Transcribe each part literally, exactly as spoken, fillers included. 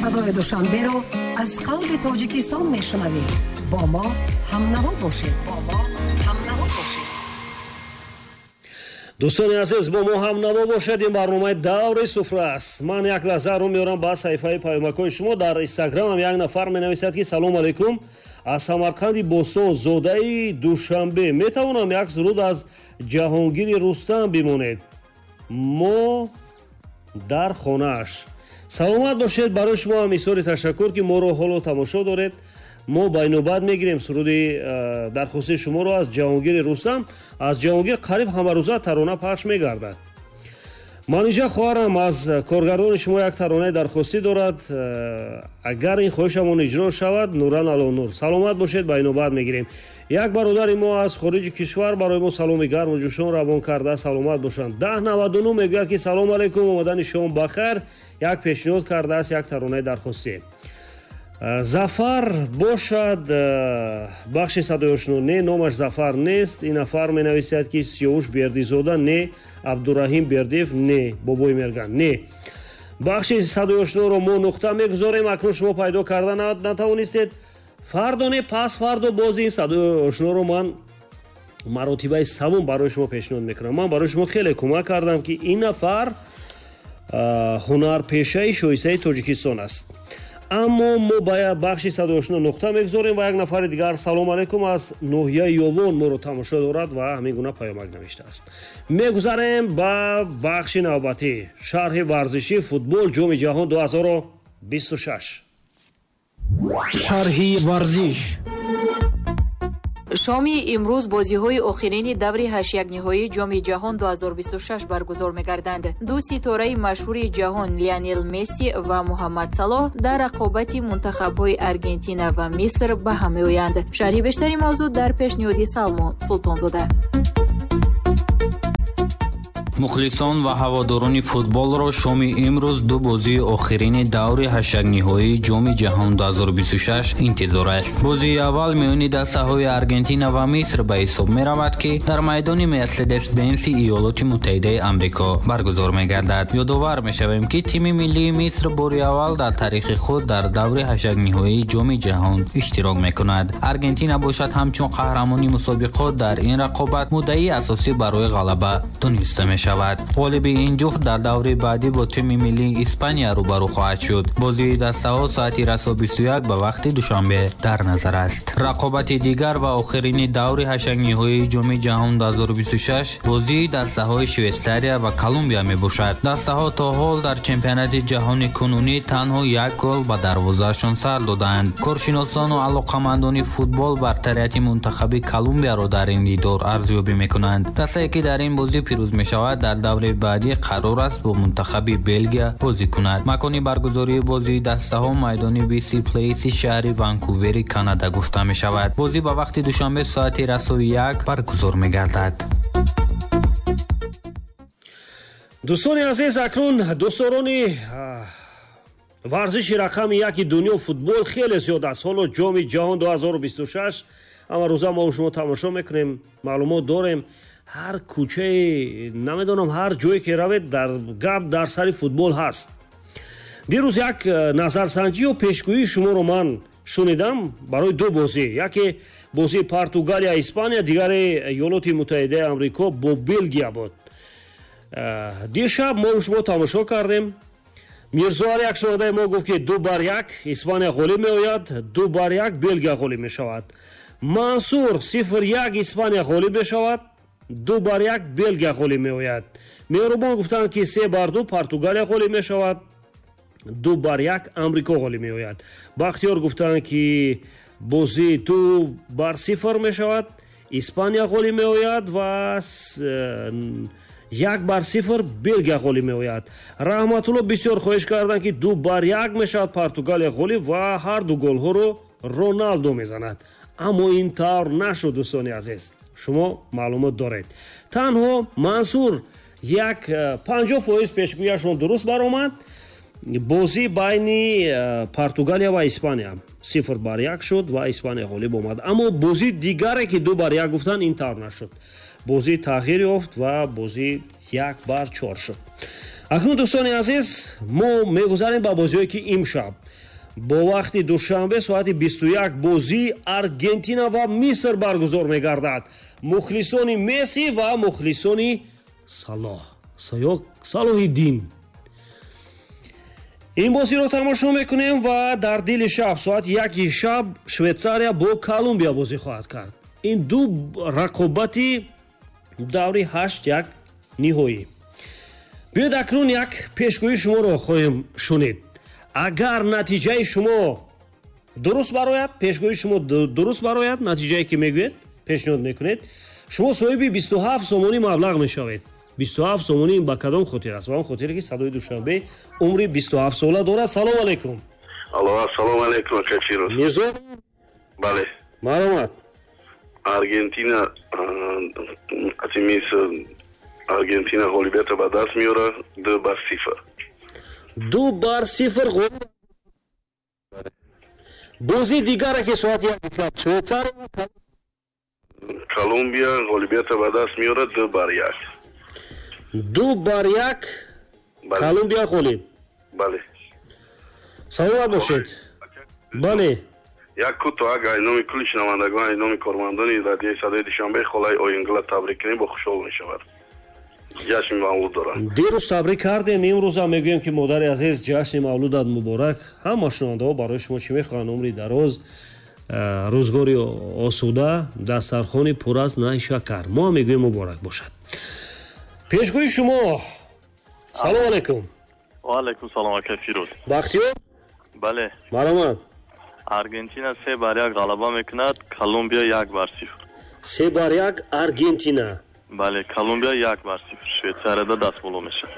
Садои Душанберо аз қалби Тоҷикистон мешунавед. Бо мо ҳамнаво бошед. Бо мо ҳамнаво бошед. Дӯстони азиз, бо мо ҳамнаво бошед. Ин барномаи даври суфра аст. Ман як лаҳза рӯ меорам ба саҳифаи паёмакҳои шумо. Дар Инстаграмам як нафар менависад, ки салом алайкум, аз Самарқанди бостон, зодаи Душанбе, метавонам як суруд аз Ҷаҳонгири Рустам бимонед? Мо дар хонааш. Саломат бошед. Барои шумо ҳам изҳори ташаккур, ки моро ҳоло тамошо доред. Мо байнобат мегирем суруди э, дархостии шуморо аз Ҷаҳонгири Рустам. Аз Ҷаҳонгир қариб ҳамарӯза тарона пахш мегардад. Манижа хоҳарам аз коргардони шумо як таронаи дархостӣ дорад. Э, агар ин хоҳишамон иҷро шавад, нуран ало нур. Саломат бошед, байнобат мегирем. Як бародари мо аз хориҷи кишвар барои мо саломи гарму ҷӯшон равон карда, саломат бошанд. Даҳ наваду нӯ мегӯяд, ки салом алайкум, омадани шом бахайр, як пешниҳод кардааст як таронаи дархостӣ. Э, зафар бошад, э, бахши садои ошно не, номаш Зафар нест. Ин нафар менависад, ки Сиёвуш Бердизода не, Абдураҳим Бердиев не, Бобои Мерган не. Бахши садои ошноро мо нуқта мегузорем. Акнун шумо пайдо карда натавонистед. Фардо не, пас фардо боз ин садои ошноро ман маротибаи савум барои шумо пешниҳод мекунам. Ман барои шумо хеле кӯмак кардам, ки ин нафар ҳунарпешаи шоистаи Тоҷикистон аст. Аммо мо ба бахши садои ошно нуқта мегузорем ва як нафари дигар, салом алайкум, аз ноҳияи Ёвон моро тамошо дорад ва ҳамин гуна паёмак навиштааст. Мегузарем ба бахши навбатӣ, шарҳи варзишӣ, футбол, Ҷоми ҷаҳон ду ҳазору бисту шаш. Шарҳи варзиш. Шоми имрӯз бозиҳои охирини даври ҳаштякниҳоии Ҷоми ҷаҳон ду ҳазору бисту шаш баргузор мегарданд. Ду ситораи машҳури ҷаҳон, Лионел Месси ва Муҳаммад Салоҳ, дар рақобати мунтахабҳои Аргентина ва Миср ба ҳам меоянд. Шарҳи бештари мавзӯъ дар пешниҳоди Салмон Султонзода. Мухлисон ва ҳаводорони футболро шоми имрӯз ду бозии охирини даври ҳаштякниҳоии Ҷоми ҷаҳон ду ҳазору бисту шаш интизор аст. Бозии аввал миёни дастаҳои Аргентина ва Миср ба ҳисоб меравад, ки дар майдони Мерседес Бенси Иёлоти Муттаҳидаи Амрико баргузор мегардад. Ёдовар мешавем, ки тими миллии Миср бори аввал дар таърихи худ дар даври ҳаштякниҳоии Ҷоми ҷаҳон иштирок мекунад. Аргентина бошад, ҳамчун қаҳрамони мусобиқот дар ин рақобат муддаии асосӣ барои ғалаба дониста мешавад мешавад. Ғолиби ин ҷуфт дар даври баъдӣ бо тими миллии Испания рӯбарӯ хоҳад шуд. Бозии дастаҳо соати расо бисту як ба вақти Душанбе дар назар аст. Рақобати дигар ва охирини даври ҳаштякниҳоии Ҷоми ҷаҳон ду ҳазору бисту шаш бозии дастаҳои Швейтсария ва Колумбия мебошад. Дастаҳо то ҳол дар чемпионати ҷаҳони кунунӣ танҳо як гол ба дарвозаашон сар додаанд. Коршиносону алоқамандони футбол бартарияти мунтахаби Колумбияро дар ин дидор арзёбӣ мекунанд. Дастае, ки дар ин бозӣ пирӯз мешавад, дар даври баъдӣ қарор аст бо мунтахаби Белгия бозӣ кунад. Макони баргузории бозии дастаҳо майдони Би Си Плейси шаҳри Ванкувери Канада гуфта мешавад. Бозӣ ба вақти Душанбе соати расои як баргузор мегардад. Дӯстони азиз, акнун дӯстдорони варзиши рақами яки дунё, футбол, хеле зиёд аст. Ҳоло Ҷоми ҷаҳон ду ҳазору бисту шаш ҳама рӯза мо шумо тамошо мекунем, маълумот дорем. Ҳар кӯчае, намедонам, ҳар ҷое ки равед, дар гап дар сари футбол ҳаст. Дирӯз як э, назарсанҷӣ ё пешгӯии шуморо ман шунидам барои ду бозӣ: яке бозии Португалия Испания, дигаре Иёлоти Муттаҳидаи Амрико бо Белгия буд. э, дишаб мо шумо тамошо кардем. Мирзоали, як шунавандаи мо, гуфт, ки ду бар як Испания ғолиб меояд, ду бар як Белгия ғолиб мешавад. Мансур: сифр як Испания ғолиб мешавад, ду бар як Белгия ғолиб меояд. Меҳрубон гуфтанд, ки се бар ду Португалия ғолиб мешавад, ду бар як Амрико ғолиб меояд. Бахтиёр гуфтанд, ки бозӣ ду бар сифр мешавад, Испания ғолиб меояд ва э, як бар сифр Белгия ғолиб меояд. Раҳматулло бисёр хоҳиш карданд, ки ду бар як мешавад, Португалия ғолиб ва ҳар ду голҳоро Роналдо мезанад. Аммо ин тавр нашуд. Дӯстони азиз, шумо маълумот доред, танҳо Мансур як э, панҷоҳ фоиз пешгӯяшон дуруст баромад. Бозӣ байни э, Португалия ва Испания сифр бар як шуд ва Испания ғолиб омад. Аммо бозии дигаре, ки ду бар як гуфтанд, ин тавр нашуд, бозӣ тағйир ёфт ва бозӣ як бар чор шуд. Акнун, дӯстони азиз, мо мегузарем ба бозиҳое, ки имшаб Бо вақти душанбе соати бисту як бозии Аргентина ва Миср баргузор мегардад. Мухлисони Месси ва мухлисони Салоҳ, Салоҳиддин. Ин бозиро тамошо мекунем ва дар дили шаб соати яки шаб Швейтсария бо Колумбия бозӣ хоҳад кард. Ин ду рақобати даври ҳашт як ниҳоӣ. Биёед акнун як пешгӯии шуморо хоҳем шунид. Агар натиҷаи шумо дуруст барояд, пешгӯии шумо дуруст барояд, натиҷае ки мегӯед, пешниҳод мекунед, шумо соҳиби бисту ҳафт сомонӣ маблағ мешавед. бисту ҳафт сомонӣ ба кадом хотир аст? Ба он хотире ки Садои Душанбе умри бисту ҳафт сола дорад. Салом алейкум. Алло, ассалому алейкум, ака Фирӯз. Мирзо? Бале. Марҳамат. Аргентина ати Миср, Аргентина ғолибиятро ба даст меорад ду бар сифр. Ду бар сифр ғолиб. Бозии дигаре ки соати як шаб Швейтсария Колумбия ғолибиятро ба даст меорад ду бар як. Ду бар як Колумбия ғолиб. Бале. Саломат бошед. Бале. Як кӯтоҳ агар номи кулли шунавандагон, номи кормандони радиои Садои Душанбе холаи Оингула табрик кунем, бо хушҳол мешавад. Ҷашни мавлуд дорад. Дирӯз табрик кардем, имрӯзам мегӯем ки модари азиз, ҷашни мавлудат муборак. Ҳама шунавандаҳо барои шумо чӣ мехоҳанд? Умри дароз, рӯзгори осуда, дастархони пур аз найшакар. Мо ҳам мегӯем муборак бошад. Пешгӯи шумо. Салом алейкум. Ва алейкум салом, ака Фирӯз. Бахтиёр? Бале. Марҳамат. Аргентина се бар як ғалаба мекунад, Колумбия як бар сифр. Се бар як Аргентина. Бале, Колумбия як бар сифр. Швейтсарияда даст боло мешавад.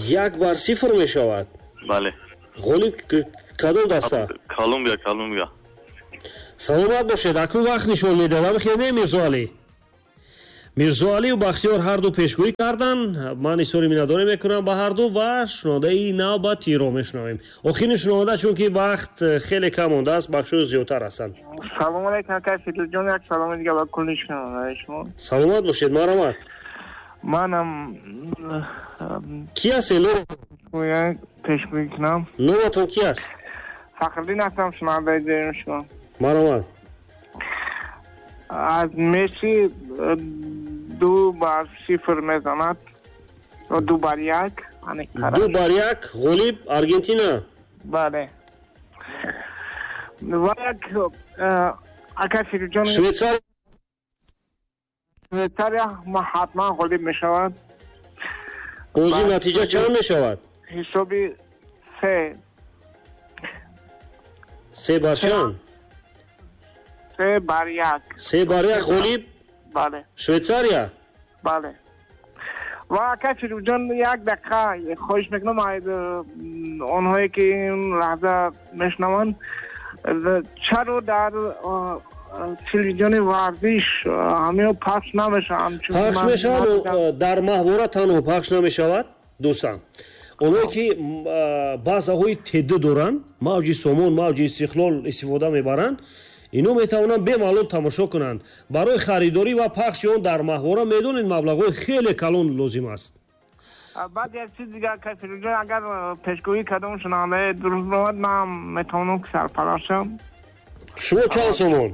Як бар сифр мешавад? Бале. Ғолиб кадом даста? Колумбия, Колумбия. Саломат бошед. Акнун вақт нишон медиҳад. Хеле Мирзоалӣ. Мирзоалию Бахтиёр ҳарду пешгӯӣ карданд. Ман изҳори миннатдорӣ мекунам ба ҳарду ва шунавандаи навбатиро мешунавем. Охирин шунаванда, чунки вақт хеле кам мондааст, бахшҳо зиёдтар ҳастанд. Салом алейкум, ака Фирӯзҷон, як саломи дига ба кулли шунавандаи шумо. Саломат бошед, марҳамат. Манам ки ҳастед? Пешгӯӣ кунам. Номатон ки аст? Фахриддин ҳастам, шунавандаи доими шумо. Марҳамат. Аз Месси ду бар сифр мезанад, ду бар як. Ду бар як ғолиб Аргентина. Бале. Ва як ака Фирӯзҷон, Швейтсария Швейтсария ҳатман ғолиб мешавад. Бозӣ натиҷа чанд мешавад? Ҳисоби се. Се бар чанд? Се бар як. Се бар як ғолиб? Бале. Швейтсария? Бале. Ва ака Фирӯзҷон, як дақиқа хоҳиш мекунам, онҳое ки ин лаҳза мешунаванд, чаро дар телевизиони варзиш ҳамиҳо пахш намешаванд? Пахш мешавад, дар маҳвора танҳо пахш намешавад, дӯстам. Онҳое ки баъзаҳои ТД доранд, мавҷи Сомон, мавҷи Истиқлол истифода мебаранд, ино метавонанд бемалол тамошо кунанд. Барои харидорӣ ва пахши он дар маҳвора медонед маблағҳои хеле калон лозим аст. Баъд як чиз дигар, ака Фирӯзҷон, агар пешгӯии кадом шунавандаи дуруст бошад, ман метавонам ки сарпараст шавам. Шумо чанд сомон?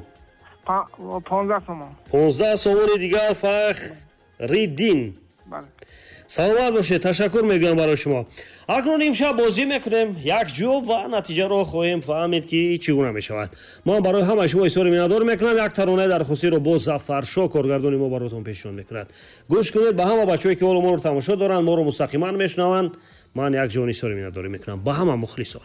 понздаҳ сомон. понздаҳ сомони дигар Фахриддин. Бале. Саломат бошед, ташаккур мегӯям барои шумо. Акнун имшаб бозӣ мекунем якҷо ва натиҷаро хоҳем фаҳмид ки чӣ гуна мешавад. Ман барои ҳамаи шумо изҳори миннатдорӣ мекунам. Як таронаи дархостиро бо Зафаршо коргардони мо баротон пешниҳод мекунад. Гӯш кунед ба ҳама бачаҳое ки ҳоло моро тамошо доранд, моро мустақиман мешунаванд. Ман як ҷон изҳори миннатдорӣ мекунам ба ҳама мухлисон.